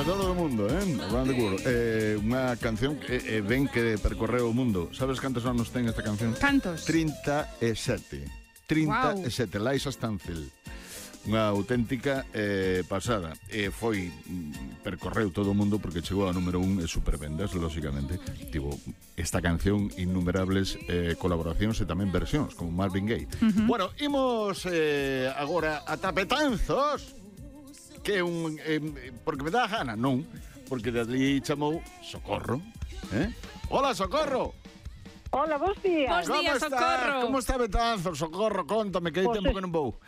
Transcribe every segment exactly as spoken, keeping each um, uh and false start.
todo o mundo, eh? Around the world. Eh, unha canción que eh, ven que percorreu o mundo. Sabes cantos anos ten esta canción? Cantos? trinta e sete. trinta e sete, wow. Liza Stanfield. Unha auténtica eh, pasada. E foi, percorreu todo o mundo porque chegou ao número un e supervendas, lógicamente. Tivo esta canción innumerables eh, colaboracións e tamén versións, como Marvin Gaye. Uh-huh. Bueno, imos eh, agora a Tapetanzos, que é un... Eh, porque me dá a gana, non? Porque de ali chamou Socorro. Eh? Hola, Socorro! Hola, bons días. Bos días, Socorro. Como está Betanzos, Socorro? Contame, que hai Pues tempo que non vou.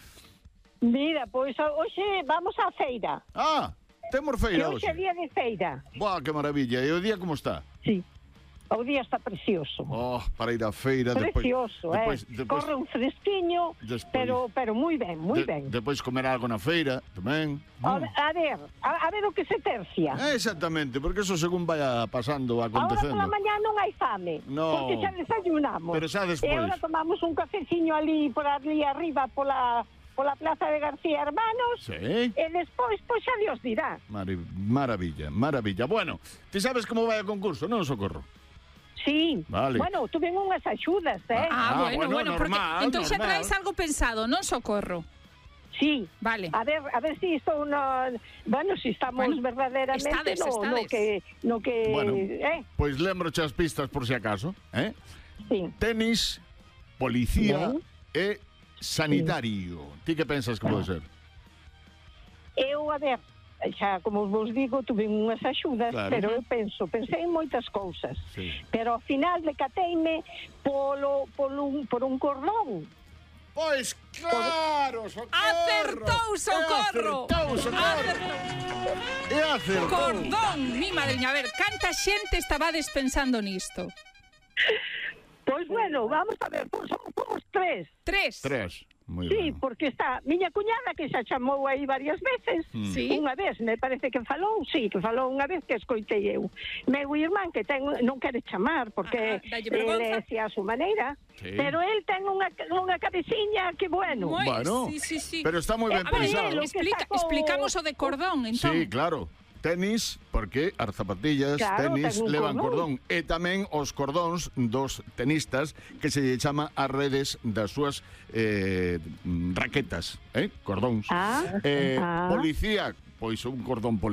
Mira, pois hoxe vamos á feira. Ah, temos Que feira hoxe é hoxe. día de feira. Buah, que maravilla. E o día como está? Sí. O día está precioso. Oh, para ir á feira. Precioso, depois, eh. Depois, Corre un fresquiño, despois, pero pero moi ben, moi de, ben. Depois comer algo na feira, tamén. A, Mm. a ver, a, a ver o que se tercia. Eh, exactamente, porque eso según vaya pasando, Ahora acontecendo. pola mañá non hai fame, No. porque xa desayunamos. Pero xa despois. E agora tomamos un cafeciño ali, por ali arriba, pola, pola plaza de García Hermanos. Sí. E despois, pois xa Dios dirá. Mari maravilla, maravilla. Bueno, ti sabes como vai o concurso, non, Socorro? Sí, Vale. Bueno, tuven unhas axudas, eh? Ah, Ah, bueno, bueno, bueno, porque normal, entón xa normal. traes algo pensado, non, Socorro? Sí. Vale. A ver, a ver si isto no, bueno, si estamos Bueno, verdaderamente estades, no, no estades. que no que Bueno, eh, pois lembro as pistas por si acaso, eh? sí. Tenis, policía Ben. e sanitario. Ti que pensas que pode ser? Eu, a ver, xa como vos digo, tuve unhas axudas, Claro. pero eu penso, pensei en moitas cousas. Sí. Pero ao final decateime polo polo un, por un cordón. Pois claro, Socorro. Acertou, Socorro. Acertou, Socorro. E acertou. Cordón, mi madriña, a ver, canta xente estabades pensando nisto? Pois bueno, vamos a ver, pois somos, somos tres. Tres. Tres. Muy Sí, ben. porque está miña cuñada que xa chamou aí varias veces. Mm. Sí. Unha vez, me parece que falou, sí, que falou unha vez que escoitei eu. Meu irmán que ten non quere chamar porque Ah, dalle ele vergonza. é a súa maneira, Sí. pero el ten unha unha cabeciña que bueno. Moi, Bueno, sí, sí, sí. pero está moi ben Eh, a ver, pensado. lo que Explica, sacou- explicamos o de cordón, entón. Sí, claro. Tenis, porque as zapatillas, Claro, tenis, ten un levan cordón. cordón. E tamén os cordóns dos tenistas que se lle chama as redes das súas eh, raquetas, eh? Cordóns. Ah, eh, ah. Policía, pois un cordón policía.